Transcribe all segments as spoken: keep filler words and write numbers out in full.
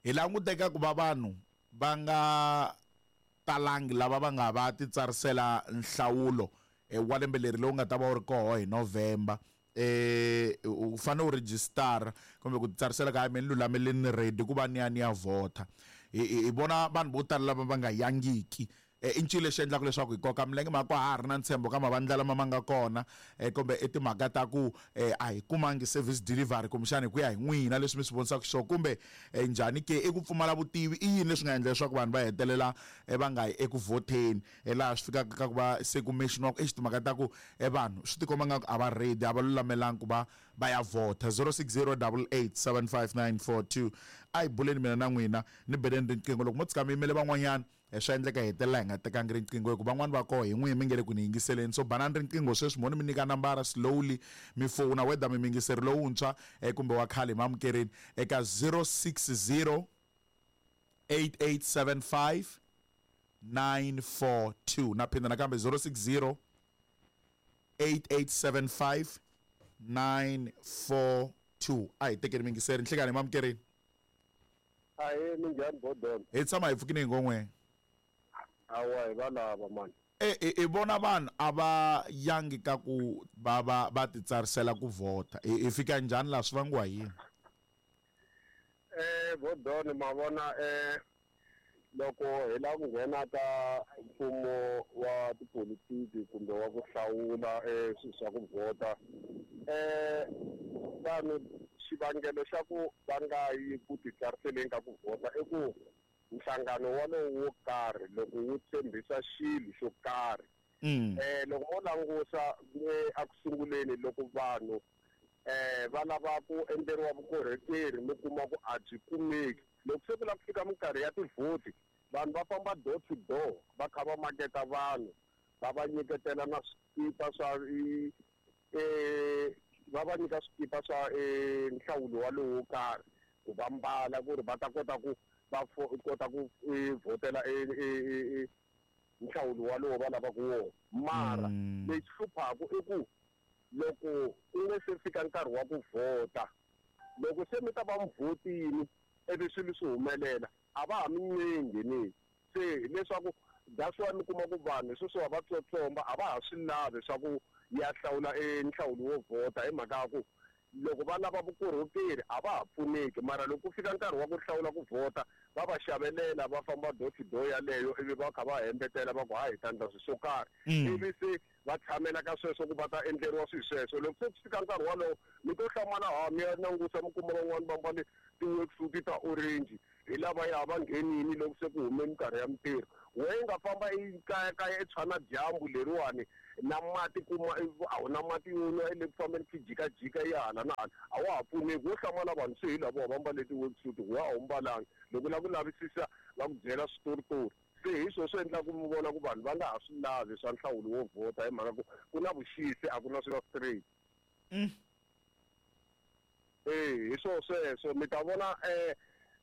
Hi languteka ku va vanhu va nga talangi lava va nga va titsarisela nhlawulo wa lembe leri lowu nga ta va wu ri koho hi November. Eh u fanele u register kumbe ku titsarisela ka me ni lulamele ni ready ku va ni ya ni ya vhota. Hi vona vanhu vo tala lava va nga yangiki. I ncini lexi endlaka leswaku hi koka milenge mhaka ha ha ri na ntshembo ka mavandla lama ma nga kona, kumbe i timhaka ta ku a hi kumangi service delivery kumbexana hi ku ya hi n'wina leswi mi swi vonisaka xiswona, kumbe njhani ke i ku pfumala vutivi, i yini leswi nga endla leswaku vanhu va hetelela va nga yi eku vhoteni, laha swi fikaka ka ku va se ku mention-iwaka exi timhaka ta ku vanhu swi tikomba nga ku a va ready, a va lulamelangi ku va va ya vhota. Zero six zero double eight seven five nine four two. A hi buleni mina na n'wina ni beleni riqingho loko mo tshika mi yimele van'wanyana swa endleka hi hetelela hi nga tekangi riqingho hikuva van'wani va koho hi n'wihi mi nge le ku ni yingiseleni. So banani riqingho sweswi mo ni mi nyika nambara slowly mi fona whether mi yingiseri lowuntshwa kumbe wa khale mi amukerini eka zero six zero eight eight seven five nine four two. Na phinda nakambe zero six zero eight eight seven five nine four two. A hi tekeni miyingiseri nhlekani mi amukerini. Ahee, minjhani Bodon? Hi tshama hi pfukini hi ngon'we. Awa hi valava mani. E i vona vanhu a va yangi ka ku va va va titsarisela ku vhota. I fika njhani laha swi vangiwa hi yini? Eh Bodon, ma vona eh loko hi lava ku nghena ka mfumo wa tipolitiki kumbe wa ku hlawula eh swilo swa ku vhota, eh vanhu xivangelo xa ku va nga yi ku titsariseleni ka ku vhota i ku nhlangano walowo wo karhi loko wu tshembisa xilo xo karhi. Eh loko mo langusa eku sunguleni loko vanhu eh va lava ku endleriwa vukorhokeri mi kuma ku a byi kumeki. Loko se ku lava ku fika minkarhi ya tivhoti, vanhu va famba door to door va kha va maketa vanhu, va va nyiketela na swikipa swa eh va va nyika swikipa swa nhlawulo walowo wo karhi ku va mbala ku ri va ta kota ku va kota ku vhotela nhlawulo walowo va lavaka wona. Mara lexi hluphaka i ku loko ku nga se fika nkarhi wa ku vhota, loko se mi ta va mi vhotini ivi swilo swi humelela a va ha mi nyengi. Se hileswaku that's why mi kuma ku vanhu sweswiwa va tsotsomba a va ha swi lavi swa ku ya hlawula nhlawulo wo vhota hi mhaka ya ku loko va lava vukorhokeri a va ha pfuneki. Mara loko ku fika nkarhi wa ku hlawula ku vhota va va xavelela va famba door to door yaleyo ivi va kha va hembetela va ku hayi hi ta endla swilo swo karhi, ivi se va tshamela ka sweswo ku va ta endleriwa swilo sweswo. Loko se ku fika nkarhi walowo mi to hlamala ha mi ya langusa mi kuma van'wani va mbale ti-worksuit ta orange hi lava ya va nghenini loko se ku hume minkarhi ya mintirho. Wehe nga famba i kayakaya i tshwa na dyambu leriwani na mati kuma a wu na mati yo nwa i le ku fambeni ki jikajika ya hala na hala a wa ha pfuneki. Wo hlamala vanhu se hi lava va mbale ti-worksuit we a wu mbalanga. Loko u lava ku lavisisa va ku byela switoritori. Se hi swona swi endlaka mi vona ku vanhu va nga ha swi lavi swa nhlawulo wo vhota hi mhaka ku ku na vuxisi a ku na swilo straight. Eh hi swona sweswo mi ta vona eh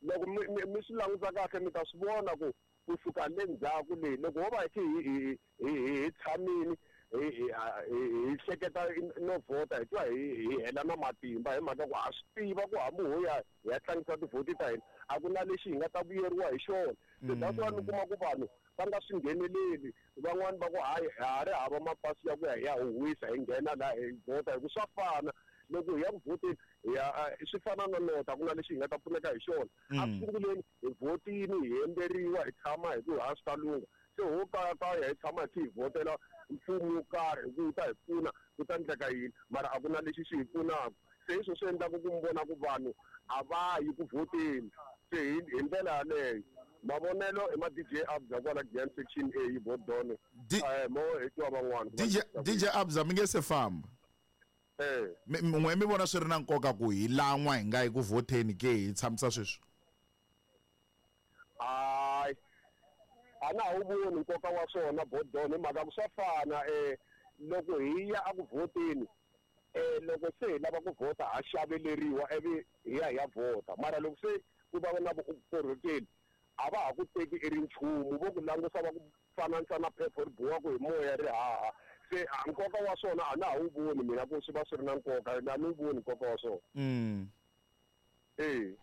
loko mi mi swi languta kahle mi ta swi vona ku kusuka le ndzhaku leyi loko ho va hi hi hi hi tshamini hi hi hleketa no vhota hi twa hi hi hela na matimba hi mhaka ku ha swi tiva ku hambi ho ya hi ya tlangisa tivhoti ta hina a ku na lexi hi nga ta vuyeriwa hi xona. Se that's why mi kuma ku vanhu va nga swi ngheneleli. Van'wani va ku hayi ha ri hava mapasi ya ku ya hi ya huhwisa hi nghena laha hi vhota hi ku swa fana loko hi ya ku vhoteni hi ya swi fana na nota ku na lexi hi nga ta pfuneka hi xona. A ku sunguleni hi vhotini hi hemberiwa hi tshama hi ku ha swi ta lungha. Se ho kayakaya hi tshama hi hi vhotela mfumo wo karhi hi ku wu ta hi pfuna ku ta endleka yini, mara a ku na lexi xi hi pfunaka. Se hi swona swi endlaka ku mi vona ku vanhu a va yi ku vhoteni. Se hi hi ndlela yaleyo mavonelo i ma D J Abza kwala Giyani section A hi Bodon. Eh mo hi twa van'wana. D J D J Abza mi nge se famba. Eh n'we mi vona swi ri na nkoka ku hi lan'wa hi nga yi ku vhoteni ke hi tshamisa sweswi? Hayi a na ha wu voni nkoka wa swona Bodon hi mhaka ku swa fana eh loko hi ya eku vhoteni eh loko se hi lava ku vhota ha xaveleriwa ivi hi ya hi ya vhota. Mara loko se ku va na vukorhokeri a va ha ku teki i ri nchumu, vo ku langusa va ku fananisa na phepha ri bohaka hi moya ri haha. Se nkoka wa swona a na ha wu voni mina ku swi va swi ri na nkoka, a ni wu voni nkoka wa swona. Mm. Eh.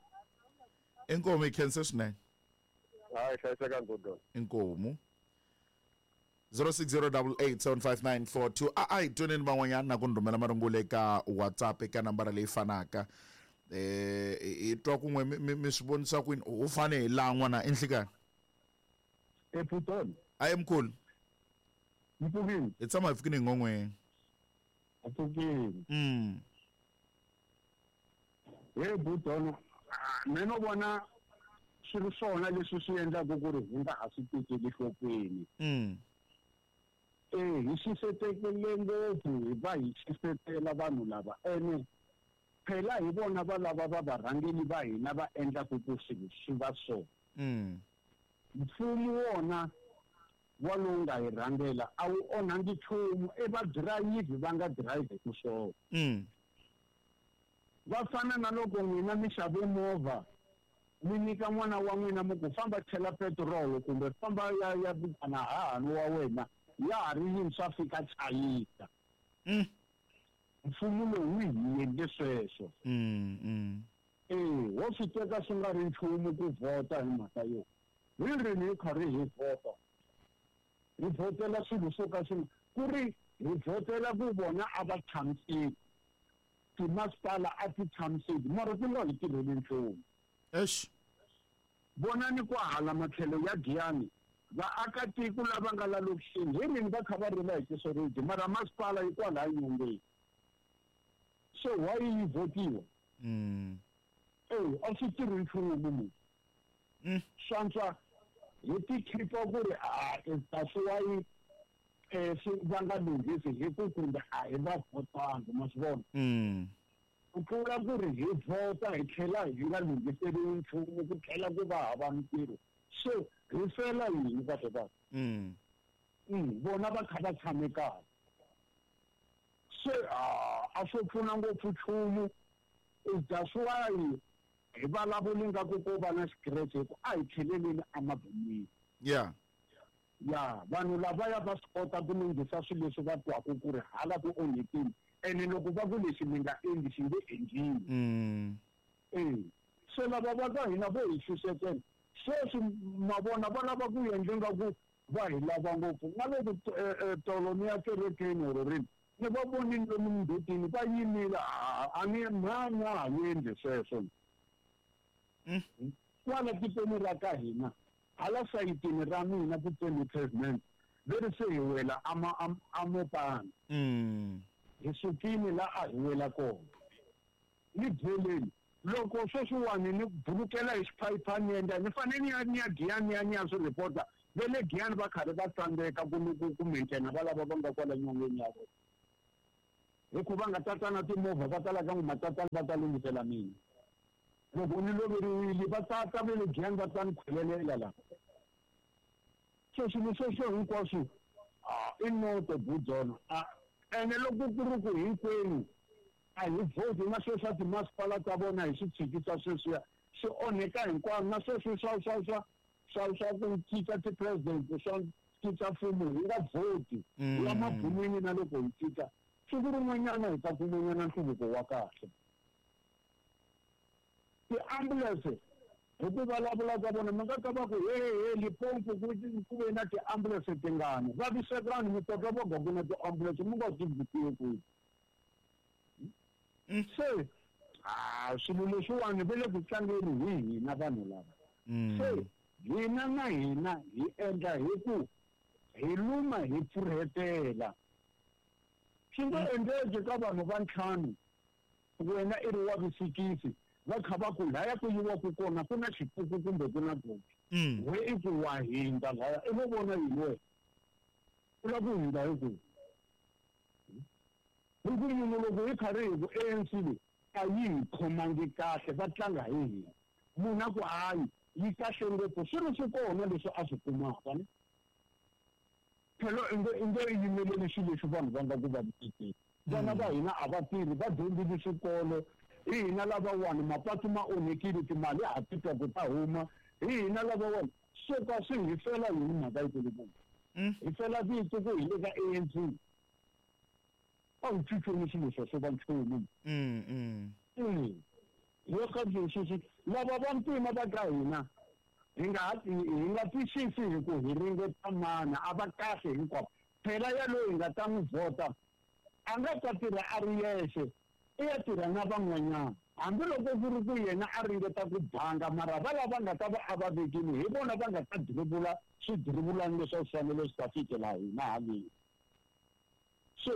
Inkomu hi khense swinene. Hayi, hlayisekani Budon. Inkomu. zero six zero double eight seven five nine four two. A a hi twaneni van'wanyana na ku ni rhumela marungula eka WhatsApp eka nambara leyi fanaka. Eh hi twa kun'we mi mi swi vonisa kwini u fane hi laha n'wana enhlikani. E Budon. A hi mkhulu. Mpfukini. Hi tshama hi pfukini hi ngon'weni. Mpfukini. Mm. He Budon, mina vona swi ri swona leswi swi endlaka ku ri hi nga ha swi tekeli enhlokweni. Mm. Eh hi xisetekele ngopfu hi va hi xisetela vanhu lava ene phela hi vona va lava va varhangeli va hina va endlaku ku swilo swi va so. Mm. Mfumo wona wa lowu nga hi rhangela a wu onhangi nchumu e va dirayivhi va nga dirayivhi ku swona. Mm. Va fana na loko n'wina mi xave movha mi nyika n'wana wa n'wina mi ku famba chela petirolo kumbe famba ya ya vitana hahani wa wena ya ha ri yintshwa fika chayisa. Mm. Mfumo lowu wu hi endle sweswo. Mm, mm. Eh, wo swi teka swi nga ri nchumu ku vhota hi mhaka yo. Hi rini hi karhi hi vhota? Hi vhotela swilo swo ka swi ku ri hi vhotela ku vona a va tshamiseki. Timasipala a ti tshamiseki mara ti nga hi tirheli nchumu. Eish. Vonani kwahala matlhelo ya Giyani vaakatiko lava nga la lokixini hi rini va kha va rila hi tisoriji mara masipala yi kwalaya nyongeni. Se why yi vhotiwa? Mm. Eh, a swi tirhi nchumu munhu. Mm. Swantswa hi ti khipa ku ri a that's why eh swi va nga lunghisi hi ku kumbe a hi va vhotanga ma swi vona. Mm. Ku tlula ku ri hi vhota hi tlhela hi nga lunghiseriwi nchumu ku tlhela ku va hava mintirho. So hi fela yini kahle kahle? Mm. Mm, vona va kha va tshame kahle. Se a swo pfuna ngopfu nchumu. That's why hi vulavuli nga ku ko va na xikirexe hi ku a hi tlheleleni emabonweni. Yeah. Ya vanhu lavaya va swi kota ku lunghisa swilo leswi va twaku ku ri hala ku onhekile ene loko va ku lexi mi nga endli xi nge endliwi. Mm. Eh, se lava va ka hina vo hi xuxetela sweswi ma vona va lava ku endla nga ku va hi lava ngopfu na loko tolo ni ya kerekeni or rini ni va vonile lomu mindzhutini va yimile a ni mhani a ha endli sweswo. Mm. Kwala tikweni ra ka hina hala sayitini ra mina ku tsemi pavement veri se hi wela ama amopana. Mm. Hi sukile la a hi wela kona. Ni byeleni loko sweswiwani ni bulukela hi xiphayiphani endla ni fanele ni ya ni ya Giyani ni ya ni ya swi report-a ve le Giyani va karhi va tsandzeka ku ku ku maintain va lava va nga kwala nyongeni ya vona. Hikuva nga tata na timovha va tala ka matatana va ta lunghisela mina. Loko ni loveriwile va tata va le Giyani va ta ni khwelelela laha. So swilo sweswo hinkwaswo i noto Budzona. Ene loko ku ri ku hinkwenu a hi vhoti na sweswo swa timasipala ta vona hi swi tshikisa sweswiya swi onheka hinkwavo na sweswo swa swa swa swa swa ku cinca ti-president swa cinca mfumo hi nga vhoti Mm. ya mabunwini na loko hi cinca siku rin'wanyana hi ta kumanyana nhluvuko wa kahle. Ti-ambulance hi ku vulavula ka vona mi nga ta va ku he he Limpopo ku ku ve na ti-ambulance tingani vavisekani mi ta twa va ku na ti-ambulance mi nga ti vutiwi kwihi. Mm. Se a swilo leswiwani va le ku tlangeni hi hina vanhu lava. Mm. Se hina na hina hi endla hi ku hi luma hi pfurhetela. Swi nga endleki ka vanhu va ntlhanu wena i ri wa vusikisi va kha va ku laya ku yiwaku kona ku na xipuku kumbe ku na goji. Mm. We i ku wa hindza laya i vo vona yini wena u lava ku hindza hi kwihi? Hi ku munhu loko hi karhi hi ku A N C leyi a yi hi khomangi kahle va tlanga hi hina. Munhu a ku hayi yi kahle ngopfu swi ri swi kona leswi a swi kumaka ne. Phela i nge i nge yimeleli swilo leswi vanhu va nga ku vavisekeni. Vana va hina a va tirhi va dyondzile swikolo hi hina lavawani mapatu ma onhekile timali ha ti twa ku ta huma hi hina lavawani swo ka swi hi fela yini mhaka yikulukumba. Mm. Hi fela vito ku hi le ka A N C. A wu cinceni swilo sweswo va nchumu. Mm, mm. Mm. Yo ka xixi lava va ntima va ka hina hi nga hi nga twisisi hi ku hi ringeta mana a va kahle hinkwavo phela yaloyi hi nga ta n'wi vhota a nga ta tirha a ri yexe i ya tirha na van'wanyana hambiloko ku ri ku yena a ringeta ku banga mara va lava nga ta va a va vekile hi vona va nga ta dirivula swidirivulani leswi swi fanele swi ta fikela hina haleni. So